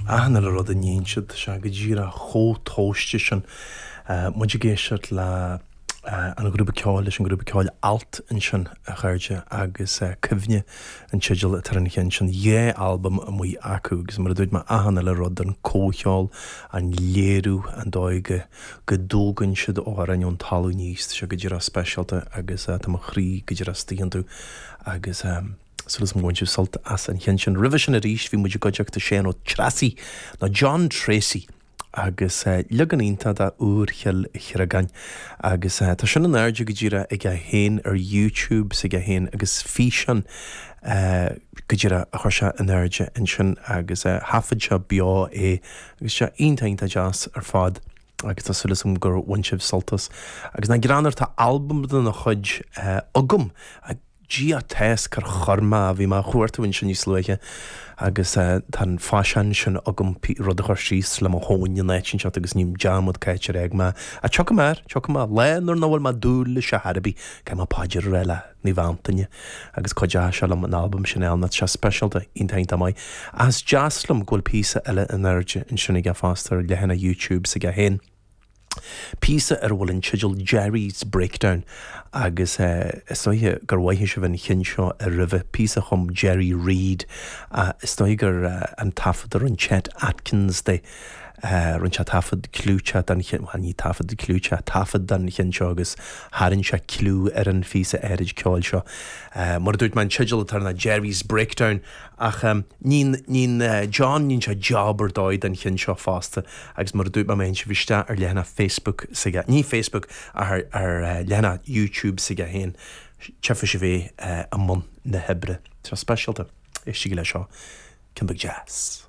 Achan uile rud a níonn siad, tá sé go díreach chomh tomhaiste sin. Muid ag éisteacht le an ghrúpa ceoil, leis an ghrúpa ceoil Alt ansin, a chairde, agus Cuimhne an teideal atá ar an cheann sin. 2 albam amuigh acu agus mar a dúirt mé, achan uile rud, an comhcheol, an léiriú, an dóigh go go dtógann siad amhráin ón talamh aníos, tá sé go díreach speisialta agus tá mo chroí go díreach istigh iontu agus súil agam go bhain sibh sult as an cheann sin. Roimhe sin arís bhí muid i gcuideachta Séan Ó Treasaigh, nó John Treacy, agus leagan iontach de Iúr Chill Chriogáin agus tá sin in airde go díreach aige féin ar YouTube s'aige féin agus físeán go díreach a chuir sé in airde ansin agus thaifead sé beo é Agus sé iontach iontach deas ar fad agus tá súil agam gur bhain sibh sult as. Agus nach greannmhar, tá albam dena chuid agam, Dia atá cár chuir mé, bhí mé á chuartú ansin níos luaithe agus tá an faisean sin agam rud a chur síos le mo thóin in áit inteacht agus ním dearmad cá háit ar fhág mé. Ach tiocfaidh mé air, tiocfaidh mé, lá nuair nach bhfuil mé ag dúil leis ar chor ar bith, caithfidh mé paidir a rá le. Naomh Antaine agus cuideoidh sé liom an albam sin a fháil nó tá sé speisialta, iontach iontach maith. Ach is deas liom go bhfuil píosa eile in airde ansin aige fosta ar leathanach YouTube s'aige féin. Píosa ar a bhfuil an teideal Jerry's Breakdown agus is dóiche gur mhoithigh sibh an cheann seo ar roimhe, píosa a chum Jerry Reed ach is dóigh gur an taifead a rinne Chet Atkins de. Rinne sé taifead clúiteach den cheann, bhuel ní taifead clúiteach, taifead den cheann seo agus tharraing sé cliú ar an phíosa áirid ceoil seo. Mar a dúirt mé, an teideal atá air ná Jerry's Breakdown ach níonn, níonn John, níonn sé job ar dóigh den cheann seo fosta agus mar a dúirt mé, má théann sibh isteach ar leathanach Facebook s'aige, ní Facebook ach ar, ar leathanach YouTube s'aige féin, tchífidh sibh é i mbun na hoibre. Tá sé speisialta. Éistigí leis seo. Ceann beag deas.